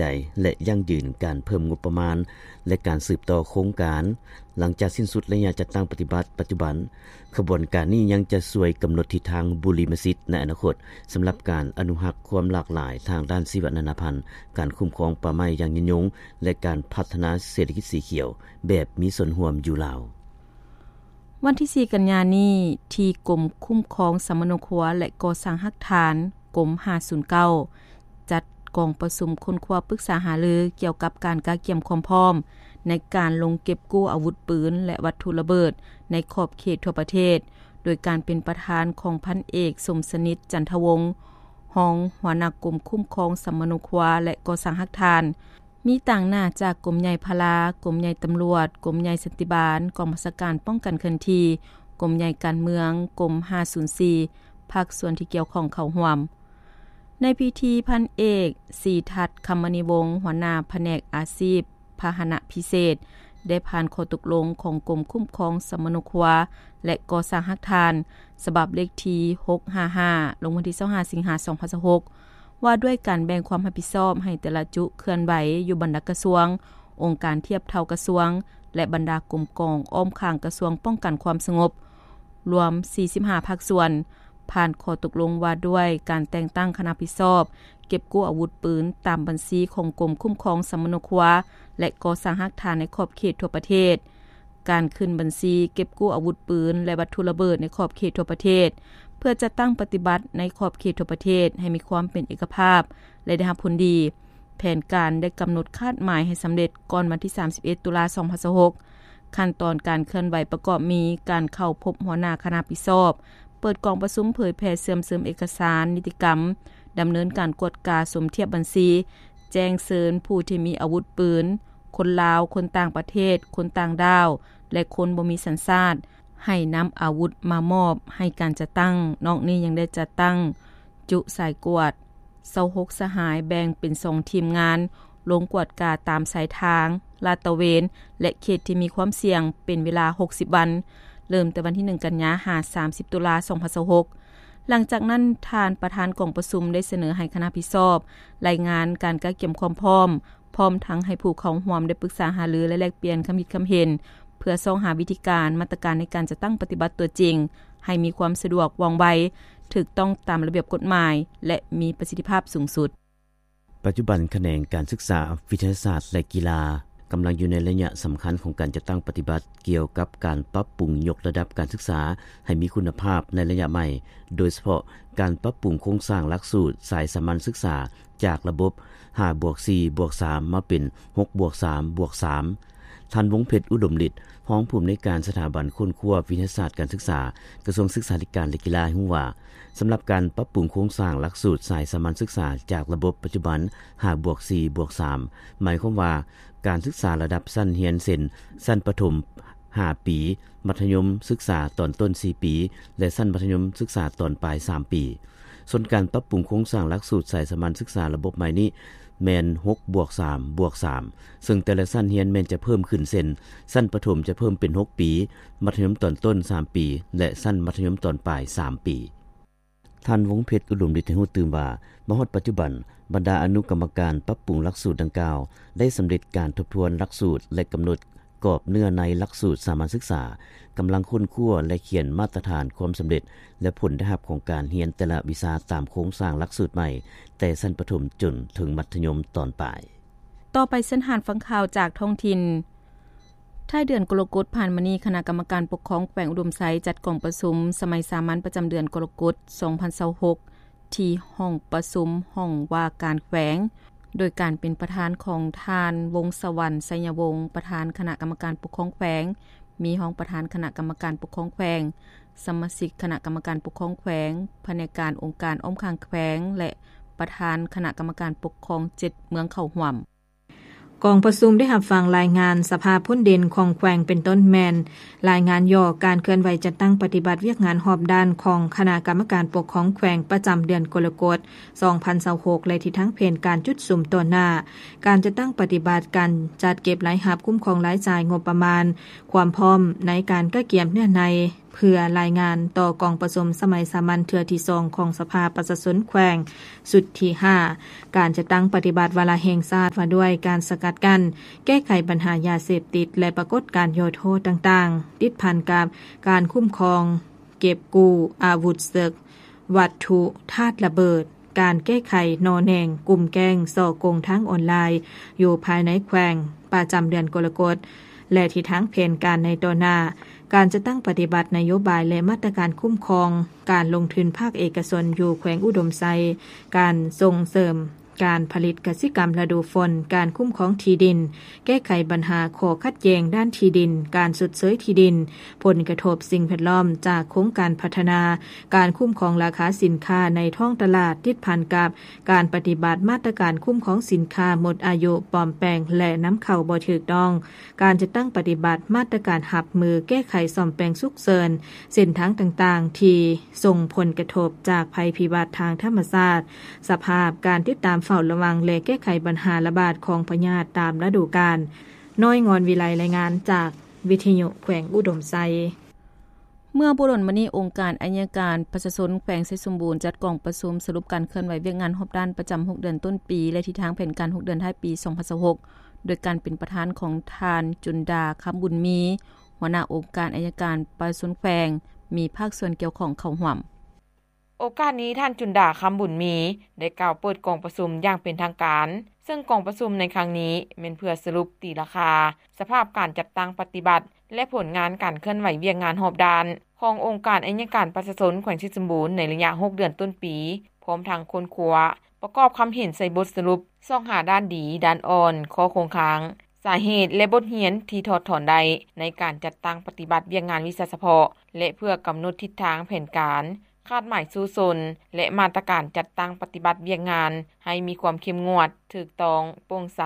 ໃຈ ແລະ ຢັ້ງຢືນການເພີ່ມງົບປະມານ ແລະ ການສືບຕໍ່ໂຄງການ. ຫຼັງຈາກສິ້ນສຸດໄລຍະຈັດຕັ້ງປະຕິບັດປັດຈຸບັນ, ຂະບວນການນີ້ຍັງຈະຊ່ວຍກຳນົດທິດທາງບຸລິມະສິດໃນອະນາຄົດ ສຳລັບການອະນຸຮັກຄວາມຫຼາກຫຼາຍທາງດ້ານຊີວະນານາພັນ, ການຄຸ້ມຄອງປ່າໄມ້ຢ່າງຍືນຍົງ ແລະ ການພັດທະນາເສດຖະກິດສີຂຽວແບບມີສ່ວນຮ່ວມຢູ່ລາວ. ວັນທີສີ່ ກັນຍານີ້, ທີ່ກົມຄຸ້ມຄອງສຳມະໂນຄົວ ແລະ ກໍ່ສ້າງຮາກຖານ, ກົມຫ້າສູນເກົ້າ ຈັດກອງປະຊຸມຄົ້ນຄວ້າປຶກສາຫາລືກ່ຽວກັບການກະກຽມຄວາມພ້ອມໃນການລົງເກັບກູ້ອາວຸດປືນ ແລະ ວັດຖຸລະເບີດໃນຂອບເຂດທົ່ວປະເທດ, ໂດຍການເປັນປະທານຂອງພັນເອກ ສົມສະໜິດ ຈັນທະວົງ ຮອງຫົວໜ້າກົມຄຸ້ມຄອງສຳມະໂນຄົວ ແລະ ກໍ່ສ້າງຮາກຖານ, ມີຕາງໜ້າຈາກກົມໃຫຍ່ພະລາ, ກົມໃຫຍ່ຕຳຫຼວດ, ກົມໃຫຍ່ສັນຕິບານ, ກອງບັນຊາການປ້ອງກັນເຄື່ອນທີ່, ກົມໃຫຍ່ການເມືອງ, ກົມຫ້າສູນສີ່ ພາກສ່ວນທີ່ກ່ຽວຂ້ອງເຂົ້າຮ່ວມ. ໃນພິທີ, ພັນເອກ ສີທັດ ຄຳມະນີວົງ ຫົວໜ້າພະແນກອາຊີບພາຫະນະພິເສດ ໄດ້ຜ່ານຂໍ້ຕົກລົງຂອງກົມຄຸ້ມຄອງສຳມະໂນຄົວ ແລະ ກໍ່ສ້າງຮາກຖານ ສະບັບເລກທີຫົກຫ້າຫ້າ ລົງວັນທີຊາວຫ້າ ສິງຫາ ສອງພັນຊາວຫົກ ວ່າດ້ວຍການແບ່ງຄວາມຮັບຜິດຊອບໃຫ້ແຕ່ລະຈຸເຄື່ອນໄຫວຢູ່ບັນດາກະຊວງ, ອົງການທຽບເທົ່າກະຊວງ ແລະ ບັນດາກົມກອງອ້ອມຂ້າງກະຊວງປ້ອງກັນຄວາມສະຫງົບ ລວມສີ່ສິບຫ້າພາກສ່ວນ, ຜ່ານຂໍ້ຕົກລົງວ່າດ້ວຍການແຕ່ງຕັ້ງຄະນະຮັບຜິດຊອບເກັບກູ້ອາວຸດປືນຕາມບັນຊີຂອງກົມຄຸ້ມຄອງສຳມະໂນຄົວ ແລະ ກໍ່ສ້າງຮາກຖານໃນຂອບເຂດທົ່ວປະເທດ, ການຂຶ້ນບັນຊີເກັບກູ້ອາວຸດປືນ ແລະ ວັດຖຸລະເບີດໃນຂອບເຂດທົ່ວປະເທດ ເພື່ອຈັດຕັ້ງປະຕິບັດໃນຂອບເຂດທົ່ວປະເທດໃຫ້ມີຄວາມເປັນເອກະພາບ ແລະ ໄດ້ຮັບຜົນດີ. ແຜນການໄດ້ກຳນົດຄາດໝາຍໃຫ້ສຳເລັດກ່ອນວັນທີສາມສິບເອັດ ຕຸລາ ສອງພັນຊາວຫົກ. ຂັ້ນຕອນການເຄື່ອນໄຫວປະກອບມີ ການເຂົ້າພົບຫົວໜ້າຄະນະຮັບຜິດຊອບ, ເປີດກອງປະຊຸມເຜີຍແຜ່ເຊື່ອມເສີມເອກະສານນິຕິກຳ, ດຳເນີນການກວດກາສົມທຽບບັນຊີ, ແຈ້ງເຊີນຜູ້ທີ່ມີອາວຸດປືນ, ຄົນລາວ, ຄົນຕ່າງປະເທດ, ຄົນຕ່າງດ້າວ ແລະ ຄົນບໍ່ມີສັນຊາດ ໃຫ້ນຳອາວຸດມາມອບໃຫ້ການຈັດຕັ້ງ. ນອກນີ້ຍັງໄດ້ຈັດຕັ້ງຈຸສາຍກວດ ຊາວຫົກສະຫາຍ ແບ່ງເປັນສອງທີມງານ ລົງກວດກາຕາມສາຍທາງ, ລາດຕະເວນ ແລະ ເຂດທີ່ມີຄວາມສ່ຽງ ເປັນເວລາຫົກສິບວັນ, ເລີ່ມແຕ່ວັນທີໜຶ່ງ ກັນຍາ ຫາ ສາມສິບ ຕຸລາ ສອງພັນຊາວຫົກ. ຫຼັງຈາກນັ້ນ, ທ່ານປະທານກອງປະຊຸມໄດ້ສະເໜີໃຫ້ຄະນະຮັບຜິດຊອບລາຍງານການກະກຽມຄວາມພ້ອມ, ພ້ອມທັງໃຫ້ຜູ້ເຂົ້າຮ່ວມໄດ້ປຶກສາຫາລື ແລະ ແລກປ່ຽນຄຳຄິດຄຳເຫັນ ເພື່ອຊອກຫາວິທີການ, ມາດຕະການໃນການຈັດຕັ້ງປະຕິບັດຕົວຈິງ ໃຫ້ມີຄວາມສະດວກ, ວ່ອງໄວ, ຖືກຕ້ອງຕາມລະບຽບກົດໝາຍ ແລະ ມີປະສິດທິພາບສູງສຸດ. ປັດຈຸບັນ, ຂະແໜງການສຶກສາ, ວິທະຍາສາດ ແລະ ກິລາ ກຳລັງຢູ່ໃນໄລຍະສຳຄັນຂອງການຈັດຕັ້ງປະຕິບັດກ່ຽວກັບການປັບປຸງຍົກລະດັບການສຶກສາໃຫ້ມີຄຸນນະພາບໃນໄລຍະໃໝ່, ໂດຍສະເພາະການປັບປຸງໂຄງສ້າງຫຼັກສູດສາຍສາມັນສຶກສາຈາກລະບົບຫ້າບວກສີ່ບວກສາມ ມາເປັນຫົກບວກສາມບວກສາມ. ທ່ານ ວົງເພັດ ອຸດົມລິດ ຮອງຜູ້ອຳນວຍການສະຖາບັນຄົ້ນຄວ້າວິທະຍາສາດການສຶກສາ ກະຊວງສຶກສາທິການ ແລະ ກິລາ ໃຫ້ຮູ້ວ່າ, ສຳລັບການປັບປຸງໂຄງສ້າງຫຼັກສູດສາຍສາມັນສຶກສາຈາກລະບົບປັດຈຸບັນຫ້າບວກສີ່ບວກສາມ ໝາຍຄວາມວ່າ ການສຶກສາລະດັບຊັ້ນຮຽນ ເຊັ່ນ ຊັ້ນປະຖົມຫ້າປີ, ມັດທະຍົມສຶກສາຕອນຕົ້ນສີ່ປີ ແລະ ຊັ້ນມັດທະຍົມສຶກສາຕອນປາຍສາມປີ. ສ່ວນການປັບປຸງໂຄງສ້າງຫຼັກສູດສາຍສາມັນສຶກສາລະບົບໃໝ່ນີ້ແມ່ນຫົກບວກສາມບວກສາມ ເຊິ່ງແຕ່ລະຊັ້ນຮຽນແມ່ນຈະເພີ່ມຂຶ້ນ ເຊັ່ນ ຊັ້ນປະຖົມຈະເພີ່ມເປັນຫົກປີ, ມັດທະຍົມຕອນຕົ້ນສາມປີ ແລະ ຊັ້ນມັດທະຍົມຕອນປາຍສາມປີ. ທ່ານ ວົງເພັດ ອຸດົມລິດ ໃຫ້ຮູ້ຕື່ມວ່າ, ມາຮອດປັດຈຸບັນ, ບັນດາອະນຸກຳມະການປັບປຸງຫຼັກສູດດັ່ງກ່າວ ໄດ້ສຳເລັດການທົບທວນຫຼັກສູດ ແລະ ກຳນົດກອບເນື້ອໃນຫຼັກສູດສາມັນສຶກສາ, ກຳລັງຄົ້ນຄວ້າ ແລະ ຂຽນມາດຕະຖານຄວາມສຳເລັດ ແລະ ຜົນໄດ້ຮັບຂອງການຮຽນແຕ່ລະວິຊາຕາມໂຄງສ້າງຫຼັກສູດໃໝ່, ແຕ່ຊັ້ນປະຖົມຈົນເຖິງມັດທະຍົມຕອນປາຍ. ຕໍ່ໄປເຊີນທ່ານຟັງຂ່າວຈາກທ້ອງຖິ່ນ. ທ້າຍເດືອນກໍລະກົດຜ່ານມານີ້, ຄະນະກຳມະການປົກຄອງແຂວງອຸດົມໄຊ ຈັດກອງປະຊຸມສະໄໝສາມັນປະຈຳເດືອນກໍລະກົດ ສອງພັນຊາວຫົກ ທີ່ຫ້ອງປະຊຸມຫ້ອງວ່າການແຂວງ, ໂດຍການເປັນປະທານຂອງທ່ານ ວົງສະຫວັນ ໄຊຍະວົງ, ປະທານຄະນະກຳມະການປົກຄອງແຂວງ, ມີຮອງປະທານຄະນະກຳມະການປົກຄອງແຂວງ, ສະມາຊິກຄະນະກຳມະການປົກຄອງແຂວງ, ພະແນກການອົງການອ້ອມຂ້າງແຂວງ ແລະ ປະທານຄະນະກຳມະການປົກຄອງເຈັດເມືອງເຂົ້າຮ່ວມ. ກອງປະຊຸມໄດ້ຮັບຟັງລາຍງານສະພາບຜົນເດັ່ນຂອງແຂວງ ເປັນຕົ້ນແມ່ນ ລາຍງານຫຍໍ້ການເຄື່ອນໄຫວຈັດຕັ້ງປະຕິບັດວຽກງານຮອບດ້ານຂອງຄະນະກຳມະການປົກຄອງແຂວງປະຈຳເດືອນກໍລະກົດ ສອງພັນຊາວຫົກ ແລະ ທິດທາງແຜນການຈຸດສຸມຕໍ່ໜ້າ, ການຈັດຕັ້ງປະຕິບັດການຈັດເກັບລາຍຮັບ, ຄຸ້ມຄອງລາຍຈ່າຍ, ງົບປະມານ, ຄວາມພ້ອມໃນການກະກຽມເນື້ອໃນ ເພື່ອລາຍງານຕໍ່ກອງປະຊຸມສະໄໝສາມັນເທື່ອທີສອງຂອງສະພາປະຊາຊົນແຂວງຊຸດທີຫ້າ ການຈັດຕັ້ງປະຕິບັດວາລະແຫ່ງຊາດວ່າດ້ວຍການສະກັດກັ້ນ ແກ້ໄຂບັນຫາຢາເສບຕິດ ແລະ ປາກົດການຫຍໍ້ທໍ້ຕ່າງໆ ຕິດພັນກັບການຄຸ້ມຄອງ ເກັບກູ້ອາວຸດເສິກ, ວັດຖຸທາດລະເບີດ, ການແກ້ໄຂໜໍ່ແໜງກຸ່ມແກ້ງສໍ້ໂກງທາງອອນລາຍຢູ່ພາຍໃນແຂວງ ປະຈຳເດືອນກໍລະກົດ ແລະ ທິດທາງແຜນການໃນຕໍ່ໜ້າ, ການຈັດຕັ້ງປະຕິບັດນະໂຍບາຍ ແລະ ມາດຕະການຄຸ້ມຄອງການລົງທຶນພາກເອກະຊົນຢູ່ແຂວງອຸດົມໄຊ, ການສົ່ງເສີມ ການຜະລິດກະສິກຳລະດູຝົນ, ການຄຸ້ມຄອງທີ່ດິນ, ແກ້ໄຂບັນຫາຂໍ້ຂັດແຍ່ງດ້ານທີ່ດິນ, ການຊົດເຊີຍທີ່ດິນ, ຜົນກະທົບສິ່ງແວດລ້ອມຈາກໂຄງການພັດທະນາ, ການຄຸ້ມຄອງລາຄາສິນຄ້າໃນທ້ອງຕະຫຼາດ ຕິດພັນກັບການປະຕິບັດມາດຕະການຄຸ້ມຄອງສິນຄ້າໝົດອາຍຸ, ປອມແປງ ແລະ ນຳເຂົ້າບໍ່ຖືກຕ້ອງ, ການຈັດຕັ້ງປະຕິບັດມາດຕະການຮັບມືແກ້ໄຂສ້ອມແປງສຸກເສີນເສັ້ນທາງຕ່າງໆ ທີ່ ສົ່ງຜົນກະທົບຈາກໄພພິບັດທາງທຳມະຊາດ, ສະພາບການຕິດຕາມເຝົ້າລະວັງ ແລະ ແກ້ໄຂບັນຫາລະບາດຂອງພະຍາດຕາມລະດູການ. ນ້ອຍ ງອນວິໄລ ລາຍງານຈາກວິທະຍຸແຂວງອຸດົມໄຊ. ເມື່ອບໍ່ດົນມານີ້, ອົງການໄອຍະການປະຊາຊົນແຂວງໄຊສົມບູນ ຈັດກອງປະຊຸມສະຫຼຸບການເຄື່ອນໄຫວວຽກງານຮອບດ້ານປະຈຳຫົກເດືອນຕົ້ນປີ ແລະ ທິດທາງແຜນການຫົກເດືອນທ້າຍປີສອງພັນຊາວຫົກ ໂດຍການເປັນປະທານຂອງທ່ານ ຈຸນດາ ຄຳບຸນມີ ຫົວໜ້າອົງການໄອຍະການປະຊາຊົນແຂວງ ມີພາກສ່ວນກ່ຽວຂ້ອງເຂົ້າຮ່ວມ. ໂອກາດນີ້, ທ່ານ ຈຸນດາ ຄຳບຸນມີ ໄດ້ກ່າວເປີດກອງປະຊຸມຢ່າງເປັນທາງການ, ເຊິ່ງກອງປະຊຸມໃນຄັ້ງນີ້ແມ່ນເພື່ອສະຫຼຸບຕີລາຄາສະພາບການຈັດຕັ້ງປະຕິບັດ ແລະ ຜົນງານການເຄື່ອນໄຫວວຽກງານຮອບດ້ານຂອງອົງການໄອຍະການປະຊາຊົນແຂວງໄຊສົມບູນໃນໄລຍະຫົກເດືອນຕົ້ນປີ, ພ້ອມທັງຄົ້ນຄວ້າ ປະກອບຄຳເຫັນໃສ່ບົດສະຫຼຸບ, ຊອກຫາດ້ານດີ, ດ້ານອ່ອນ, ຂໍ້ຄົງຄ້າງ, ສາເຫດ ແລະ ບົດຮຽນທີ່ຖອດຖອນໄດ້ໃນການຈັດຕັ້ງປະຕິບັດວຽກງານວິຊາສະເພາະ ແລະ ເພື່ອກຳນົດທິດທາງແຜນການ, ຄາດໝາຍສູ້ຊົນ ແລະ ມາດຕະການຈັດຕັ້ງປະຕິບັດວຽກງານໃຫ້ມີຄວາມເຂັ້ມງວດ, ຖືກຕ້ອງ, ໂປ່ງໃສ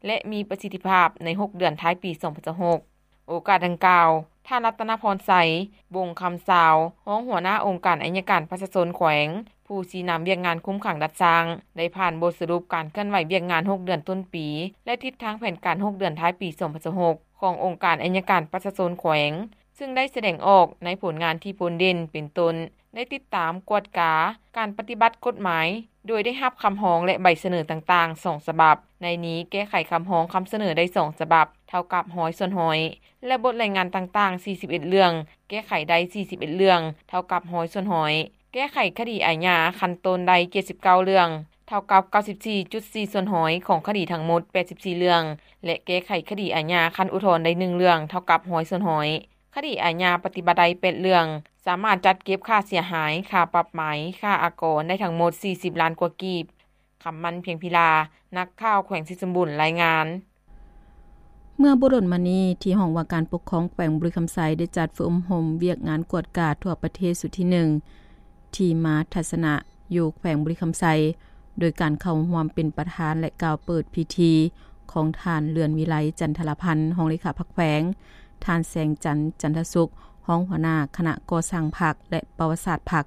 ແລະ ມີປະສິດທິພາບໃນຫົກເດືອນທ້າຍປີສອງພັນຊາວຫົກ. ໂອກາດດັ່ງກ່າວ, ທ່ານ ລັດຕະນະພອນໄຊ ວົງຄຳຊາວ, ຮອງຫົວໜ້າອົງການໄອຍະການປະຊາຊົນແຂວງ, ຜູ້ຊີ້ນຳວຽກງານຄຸມຂັງດັດສ້າງ ໄດ້ຜ່ານບົດສະຫຼຸບການເຄື່ອນໄຫວວຽກງານຫົກເດືອນຕົ້ນປີ ແລະ ທິດທາງແຜນການຫົກເດືອນທ້າຍປີສອງພັນຊາວຫົກ ຂອງອົງການໄອຍະການປະຊາຊົນແຂວງ, ຊຶ່ງໄດ້ສະແດງອອກໃນຜົນງານທີ່ໂດດເດັ່ນ ເປັນຕົ້ນ ໄດ້ຕິດຕາມກວດກາການປະຕິບັດກົດໝາຍ ໂດຍໄດ້ຮັບຄຳຮ້ອງ ແລະ ໃບສະເໜີຕ່າງໆສອງສະບັບ. ໃນນີ້ແກ້ໄຂຄຳຮ້ອງຄຳສະເໜີໄດ້ສອງສະບັບ, ເທົ່າກັບຮ້ອຍສ່ວນຮ້ອຍ ແລະ ບົດລາຍງານຕ່າງໆສີ່ສິບເອັດເລື່ອງ, ແກ້ໄຂໄດ້ສີ່ສິບເອັດເລື່ອງ, ເທົ່າກັບຮ້ອຍສ່ວນຮ້ອຍ. ແກ້ໄຂຄະດີອາຍາຂັ້ນຕົ້ນໄດ້ເຈັດສິບເກົ້າເລື່ອງ, ເທົ່າກັບເກົ້າສິບສີ່ຈຸດສີ່ສ່ວນຮ້ອຍຂອງຄະດີທັງໝົດແປດສິບສີ່ເລື່ອງ ແລະ ແກ້ໄຂຄະດີອາຍາຂັ້ນອຸທອນໄດ້ໜຶ່ງເລື່ອງ, ເທົ່າກັບຮ້ອຍສ່ວນຮ້ອຍ. ຄະດີອາຍາປະຕິບັດໄດ້ແປດເລື່ອງ, ສາມາດຈັດເກັບຄ່າເສຍຫາຍ, ຄ່າປັບໃໝ, ຄ່າອາກອນໄດ້ທັງໝົດສີ່ສິບລ້ານກວ່າກີບ. ຄຳໝັ້ນ ພຽງພິລາ, ນັກຂ່າວແຂວງໄຊສົມບູນ ລາຍງານ. ເມື່ອບໍ່ດົນມານີ້, ທີ່ຫ້ອງວ່າການປົກຄອງແຂວງບໍລິຄຳໄຊ ໄດ້ຈັດຝຶກອົບຮົມວຽກງານກວດກາທົ່ວປະເທດຊຸດທີໜຶ່ງ ທີ່ມາທັດສະນະຢູ່ແຂວງບໍລິຄຳໄຊ ໂດຍການເຂົ້າຮ່ວມເປັນປະທານ ແລະ ກ່າວເປີດພິທີຂອງທ່ານ ເລື່ອນວິໄລ ຈັນທະລາພັນ ຮອງເລຂາພັກແຂວງ, ທ່ານ ແສງຈັນ ຈັນທະສຸກ ຮອງຫົວໜ້າຄະນະກໍ່ສ້າງພັກ ແລະ ປະຫວັດສາດພັກ,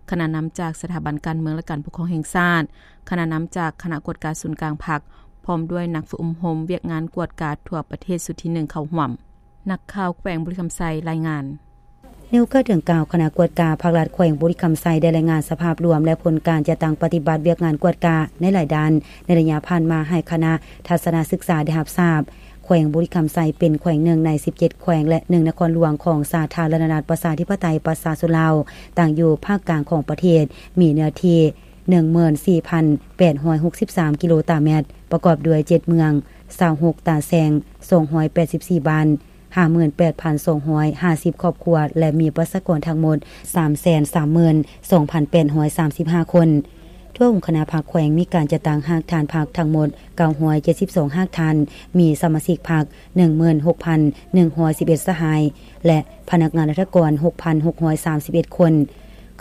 ຄະນະນຳຈາກສະຖາບັນການເມືອງ ແລະ ການປົກຄອງແຫ່ງຊາດ, ຄະນະນຳຈາກຄະນະກວດກາສູນກາງພັກ, ພ້ອມດ້ວຍນັກຝຶກອົບຮົມວຽກງານກວດກາທົ່ວປະເທດຊຸດທີໜຶ່ງເຂົ້າຮ່ວມ. ນັກຂ່າວແຂວງບໍລິຄຳໄຊລາຍງານ. ໃນໂອກາດດັ່ງກ່າວ, ຄະນະກວດກາພັກລັດແຂວງບໍລິຄຳໄຊ ໄດ້ລາຍງານສະພາບລວມ ແລະ ຜົນການຈັດຕັ້ງປະຕິບັດວຽກງານກວດກາໃນຫຼາຍດ້ານ ໃນໄລຍະຜ່ານມາໃຫ້ຄະນະທັດສະນະສຶກສາໄດ້ຮັບຊາບ. ແຂວງບໍລິຄຳໄຊເປັນແຂວງໜຶ່ງໃນສິບເຈັດແຂວງ ແລະ ໜຶ່ງນະຄອນຫຼວງຂອງສາທາລະນະລັດປະຊາທິປະໄຕປະຊາຊົນລາວ, ຕັ້ງຢູ່ພາກກາງຂອງປະເທດ, ມີເນື້ອທີ່ໜຶ່ງໝື່ນສີ່ພັນແປດຮ້ອຍຫົກສິບສາມກິໂລຕາແມັດ, ປະກອບດ້ວຍເຈັດເມືອງ, ຊາວຫົກຕາແຊງ, ສອງຮ້ອຍແປດສິບສີ່ບ້ານ, ຫ້າໝື່ນແປດພັນສອງຮ້ອຍຫ້າສິບຄອບຄົວ ແລະ ມີປະຊາກອນທັງໝົດ ສາມແສນສາມໝື່ນສອງພັນແປດຮ້ອຍສາມສິບຫ້າຄົນ. ທົ່ວອົງຄະນະພັກແຂວງມີການຈັດຕັ້ງຮາກຖານພັກທັງໝົດເກົ້າຮ້ອຍເຈັດສິບສອງຮາກຖານ, ມີສະມາຊິກພັກໜຶ່ງໝື່ນຫົກພັນໜຶ່ງຮ້ອຍສິບເອັດສະຫາຍ ແລະ ພະນັກງານລັດຖະກອອນຫົກພັນຫົກຮ້ອຍສາມສິບເອັດຄົນ.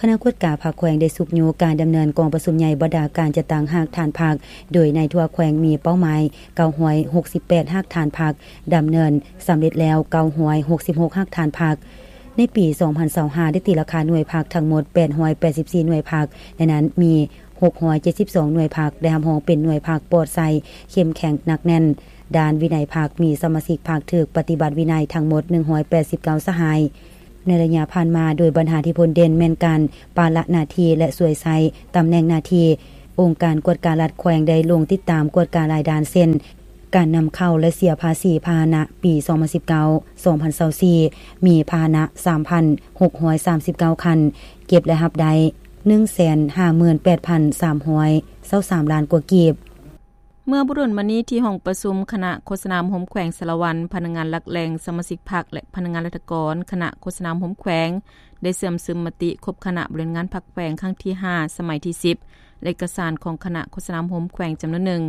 ຄະນະກວດກາພັກແຂວງໄດ້ຊຸກຍູ້ການດຳເນີນກອງປະຊຸມໃຫຍ່ບັນດາການຈັດຕັ້ງຮາກຖານພັກ, ໂດຍໃນທົ່ວແຂວງມີເປົ້າໝາຍເກົ້າຮ້ອຍຫົກສິບແປດຮາກຖານພັກ, ດຳເນີນສຳເລັດແລ້ວເກົ້າຮ້ອຍຫົກສິບຫົກຮາກຖານພັກ. ໃນປີສອງພັນຊາວຫ້າ ໄດ້ຕີລາຄາໜ່ວຍພັກທັງໝົດແປດຮ້ອຍແປດສິບສີ່ໜ່ວຍພັກ, ໃນນັ້ນມີຫົກຮ້ອຍເຈັດສິບສອງໜ່ວຍພັກໄດ້ຮັບຮອງເປັນໜ່ວຍພັກປອດໃສ, ເຂັ້ມແຂງ, ໜັກແໜ້ນ. ດ້ານວິໄນພັກ, ມີສະມາຊິກພັກຖືກປະຕິບັດວິໄນທັງໝົດໜຶ່ງຮ້ອຍແປດສິບເກົ້າສະຫາຍ. ໃນໄລຍະຜ່ານມາ, ໂດຍບັນຫາທີ່ພົ້ນເດັ່ນແມ່ນການປະລະໜ້າທີ່ ແລະ ສວຍໃຊ້ຕຳແໜ່ງໜ້າທີ່. ອົງການກວດກາລັດແຂວງໄດ້ລົງຕິດຕາມກວດກາຫຼາຍດ້ານ ເຊັ່ນ ການນຳເຂົ້າ ແລະ ເສຍພາສີພາຫະນະປີສອງພັນສິບເກົ້າ ສອງພັນຊາວສີ່ ມີພາຫະນະສາມພັນຫົກຮ້ອຍສາມສິບເກົ້າຄັນ, ເກັບ ແລະ ຮັບໄດ້ໜຶ່ງແສນຫ້າໝື່ນແປດພັນສາມຮ້ອຍຊາວສາມລ້ານກວ່າກີບ. ເມື່ອບໍ່ດົນມານີ້ ທີ່ຫ້ອງປະຊຸມຄະນະໂຄສະນາອົບຮົມແຂວງສາລະວັນ, ພະນັກງານຫຼັກແຫຼ່ງ, ສະມາຊິກພັກ ແລະ ພະນັກງານລັດຖະກອນຄະນະໂຄສະນາອົບຮົມແຂວງ ໄດ້ເຊື່ອມຊຶມມະຕິຄົບຄະນະບໍລິຫານງານພັກແຂວງຄັ້ງທີຫ້າ ສະໄໝທີສິບ ແລະ ເອກະສານຂອງຄະນະໂຄສະນາອົບຮົມແຂວງຈຳນວນໜຶ່ງ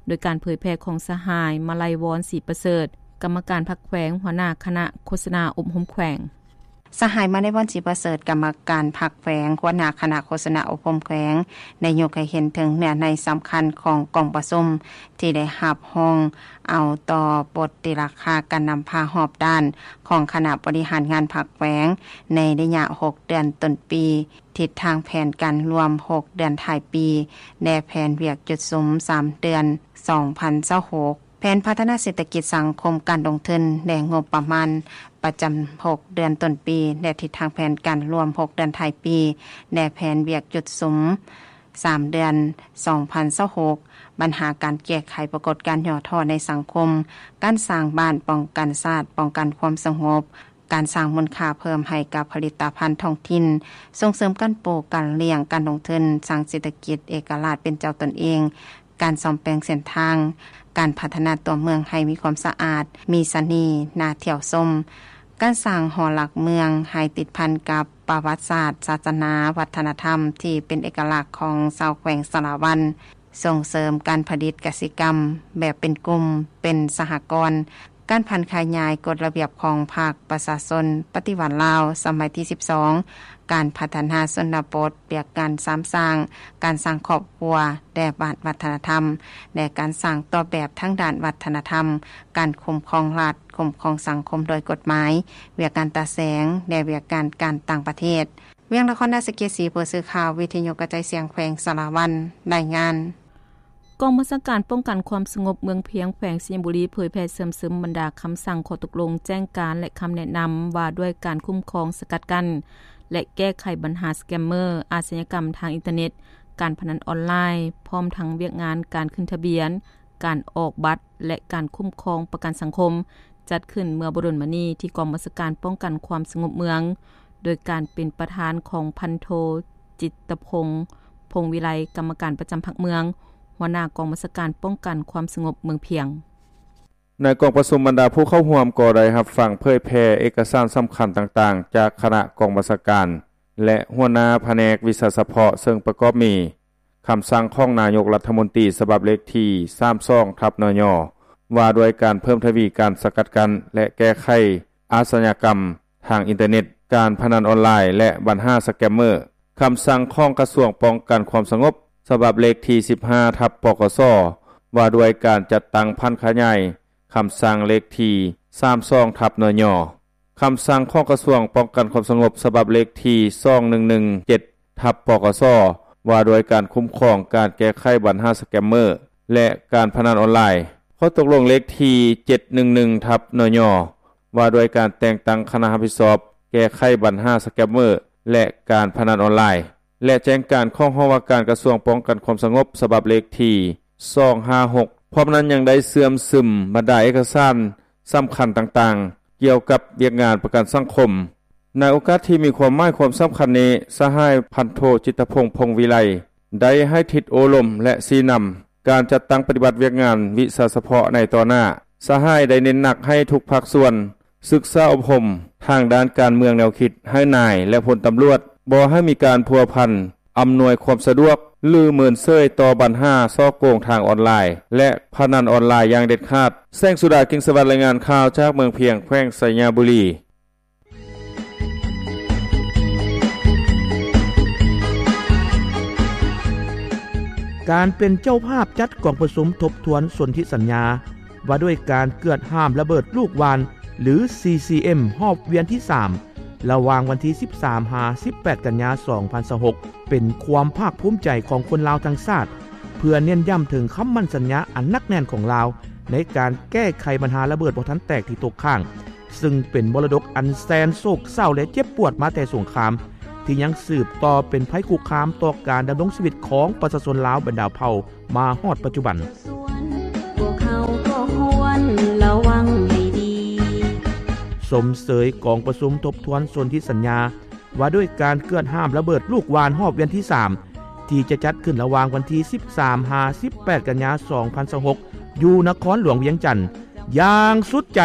ໂດຍການເຜີຍແຜ່ຂອງສະຫາຍ ມາໄລວອນ ສີປະເສີດ ກຳມະການພັກແຂວງ, ຫົວໜ້າຄະນະໂຄສະນາອົບຮົມແຂວງ. ສະຫາຍ ມາໄລວອນ ສີປະເສີດ ກຳມະການພັກແຂວງ, ຫົວໜ້າຄະນະໂຄສະນາອົບຮົມແຂວງ ໄດ້ຍົກໃຫ້ເຫັນເຖິງເນື້ອໃນສຳຄັນຂອງກອງປະຊຸມ ທີ່ໄດ້ຮັບຮອງເອົາຕໍ່ບົດຕີລາຄາການນຳພາຮອບດ້ານຂອງຄະນະບໍລິຫານງານພັກແຂວງ ໃນໄລຍະຫົກເດືອນຕົ້ນປີ, ທິດທາງແຜນການລວມຫົກເດືອນທ້າຍປີ ແລະ ແຜນວຽກຈຸດສຸມສາມເດືອນ ສອງພັນຊາວຫົກ. ແຜນພັດທະນາເສດຖະກິດສັງຄົມ, ການລົງທຶນ ແລະ ງົບປະມານປະຈຳຫົກເດືອນຕົ້ນປີ ແລະ ທິດທາງແຜນການລວມຫົກເດືອນທ້າຍປີ ແລະ ແຜນວຽກຈຸດສຸມສາມເດືອນ ສອງພັນຊາວຫົກ, ບັນຫາການແກ້ໄຂປາກົດການຫຍໍ້ທໍ້ໃນສັງຄົມ, ການສ້າງບ້ານປ້ອງກັນຊາດ, ປ້ອງກັນຄວາມສະຫງົບ, ການສ້າງມູນຄ່າເພີ່ມໃຫ້ກັບຜະລິດຕະພັນທ້ອງຖິ່ນ, ສົ່ງເສີມການປູກ, ການລ້ຽງ, ການລົງທຶນ, ສ້າງເສດຖະກິດເອກະລາດເປັນເຈົ້າຕົນເອງ, ການສ້ອມແປງເສັ້ນທາງ, ການພັດທະນາຕົວເມືອງໃຫ້ມີຄວາມສະອາດ, ມີສະເໜ່ຫາທ່ຽວຊົມ, ການສ້າງຫໍຫຼັກເມືອງໃຫ້ຕິດພັນກັບປະຫວັດສາດ, ສາສະໜາ, ວັດທະນະທຳທີ່ເປັນເອກະລັກຂອງຊາວແຂວງສາລະວັນ, ສົ່ງເສີມການຜະລິດກະສິກຳແບບເປັນກຸ່ມ, ເປັນສະຫະກອນ, ການຜັນຂະຫຍາຍກົດລະບຽບຂອງພັກປະຊາຊົນປະຕິວັດລາວສະໄໝທີສິບສອງ, ການພັດທະນາຊົນນະບົດ, ວຽກງານສາມສ້າງ, ການສ້າງຄອບຄົວ ແລະ ບ້ານວັດທະນະທຳ ແລະ ການສ້າງຕອບແບບທາງດ້ານວັດທະນະທຳ, ການຄຸ້ມຄອງລັດ, ຄຸ້ມຄອງສັງຄົມໂດຍກົດໝາຍ, ວຽກງານຕາແສງ ແລະ ວຽກງານການຕ່າງປະເທດ. ວຽງນະຄອນນະຄອນສະເກດສີ, ຜູ້ສື່ຂ່າວວິທະຍຸກະຈາຍສຽງແຂວງສາລະວັນ ລາຍງານ. ກອງບັນຊາການປ້ອງກັນຄວາມສະຫງົບເມືອງພຽງ ແຂວງໄຊຍະບູລີ ເຜີຍແຜ່ເຊື່ອມຊຶມບັນດາຄຳສັ່ງ, ຂໍ້ຕົກລົງ, ແຈ້ງການ ແລະ ຄຳແນະນຳວ່າດ້ວຍການຄຸ້ມຄອງ, ສະກັດກັ້ນ ແລະ ແກ້ໄຂບັນຫາສະແກມເມີ, ອາຊະຍາກຳທາງອິນເຕີເນັດ, ການພະນັນອອນລາຍ, ພ້ອມທັງວຽກງານການຂຶ້ນທະບຽນ, ການອອກບັດ ແລະ ການຄຸ້ມຄອງປະກັນສັງຄົມ ຈັດຂຶ້ນເມື່ອບໍ່ດົນມານີ້ ທີ່ກອງບັນຊາການປ້ອງກັນຄວາມສະຫງົບເມືອງ ໂດຍການເປັນປະທານຂອງພັນໂທ ຈິດຕະພົງ ພົງວິໄລ ກຳມະການປະຈຳພັກເມືອງ, ຫົວໜ້າກອງບັນຊາການປ້ອງກັນຄວາມສະຫງົບເມືອງພຽງ. ໃນກອງປະຊຸມ, ບັນດາຜູ້ເຂົ້າຮ່ວມກໍໄດ້ຮັບຟັງເຜີຍແຜ່ເອກະສານສຳຄັນຕ່າງໆ ຈາກຄະນະກອງບັນຊາການ ແລະ ຫົວໜ້າພະແນກວິຊາສະເພາະ, ເຊິ່ງປະກອບມີ ຄຳສັ່ງຂອງນາຍົກລັດຖະມົນຕີ ສະບັບເລກທີສາມສອງ ທັບ ນຍ ວ່າດ້ວຍການເພີ່ມທະວີການສະກັດກັ້ນ ແລະ ແກ້ໄຂອາຊະຍາກຳທາງອິນເຕີເນັດ, ການພະນັນອອນລາຍ ແລະ ບັນຫາສະແກມເມີ, ຄຳສັ່ງຂອງກະຊວງປ້ອງກັນຄວາມສະຫງົບ ສະບັບເລກທີສິບຫ້າ ທັບ ປກສ ວ່າດ້ວຍການຈັດຕັ້ງຜັນຂະຫຍາຍຄຳສັ່ງເລກທີສາມສອງ ທັບ ນຍ ຄຳສັ່ງຂອງກະຊວງປ້ອງກັນຄວາມສະຫງົບ ສະບັບເລກທີສອງໜຶ່ງໜຶ່ງເຈັດ ທັບ ປກສ ວ່າດ້ວຍການຄຸ້ມຄອງການແກ້ໄຂບັນຫາສະແກມເມີ ແລະ ການພະນັນອອນລາຍ, ຂໍ້ຕົກລົງເລກທີເຈັດໜຶ່ງໜຶ່ງ ທັບ ນຍ ວ່າດ້ວຍການແຕ່ງຕັ້ງຄະນະຮັບຜິດຊອບແກ້ໄຂບັນຫາສະແກມເມີ ແລະ ການພະນັນອອນລາຍ ແລະ ແຈ້ງການຂອງຫ້ອງວ່າການກະຊວງປ້ອງກັນຄວາມສະຫງົບ ສະບັບເລກທີສອງຫ້າຫົກ. ພ້ອມນັ້ນຍັງໄດ້ເຊື່ອມຊຶມບັນດາເອກະສານສຳຄັນຕ່າງໆ ກ່ຽວກັບວຽກງານປະກັນສັງຄົມ. ໃນໂອກາດທີ່ມີຄວາມໝາຍຄວາມສຳຄັນນີ້, ສະຫາຍພັນໂທ ຈິດຕະພົງ ພົງວິໄລ ໄດ້ໃຫ້ທິດໂອ້ລົມ ແລະ ຊີ້ນຳການຈັດຕັ້ງປະຕິບັດວຽກງານວິຊາສະເພາະໃນຕໍ່ໜ້າ. ສະຫາຍໄດ້ເນັ້ນໜັກໃຫ້ທຸກພາກສ່ວນ ສຶກສາອົບຮົມທາງດ້ານການເມືອງແນວຄິດໃຫ້ນາຍ ແລະ ພົນຕຳຫຼວດ ບໍ່ໃຫ້ມີການພົວພັນ, ອຳນວຍຄວາມສະດວກ ຫຼື ເມີນເສີຍຕໍ່ບັນຫາສໍ້ໂກງທາງອອນລາຍ ແລະ ພະນັນອອນລາຍຢ່າງເດັດຂາດ. ແສງສຸດາ ກິ່ງສະຫວັດ ລາຍງານຂ່າວຈາກເມືອງພຽງ ແຂວງໄຊຍະບູລີ. ການເປັນເຈົ້າພາບຈັດກອງປະຊຸມທົບທວນສົນທິສັນຍາ ວ່າດ້ວຍການເກືອດຫ້າມລະເບີດລູກຫວ່ານ ຫຼື ຊີຊີເອັມ ຮອບວຽນທີສາມ ລະຫວ່າງວັນທີສິບສາມ ຫາ ສິບແປດ ກັນຍາ ສອງພັນຊາວຫົກ ເປັນຄວາມພາກພູມໃຈຂອງຄົນລາວທັງຊາດ ເພື່ອເນັ້ນຢ້ຳເຖິງຄຳໝັ້ນສັນຍາອັນໜັກແໜ້ນຂອງລາວ ໃນການແກ້ໄຂບັນຫາລະເບີດບໍ່ທັນແຕກທີ່ຕົກຄ້າງ ຊຶ່ງເປັນມໍລະດົກອັນແສນໂສກເສົ້າ ແລະ ເຈັບປວດມາແຕ່ສົງຄາມ ທີ່ຍັງສືບຕໍ່ເປັນໄພຄຸກຄາມຕໍ່ການດຳລົງຊີວິດຂອງປະຊາຊົນລາວບັນດາເຜົ່າມາຮອດປັດຈຸບັນ. ພວກເຮົາກໍຄວນລະວັງໃຫ້ດີ. ຊົມເຊີຍກອງປະຊຸມທົບທວນສົນທິສັນຍາ ວ່າດ້ວຍການເກືອດຫ້າມລະເບີດລູກຫວ່ານຮອບວຽນທີສາມ ທີ່ຈະຈັດຂຶ້ນລະຫວ່າງວັນທີສິບສາມຫາສິບແປດກັນຍາສອງພັນຊາວຫົກ ຢູ່ນະຄອນຫຼວງວຽງຈັນ ຢ່າງສຸດໃຈ.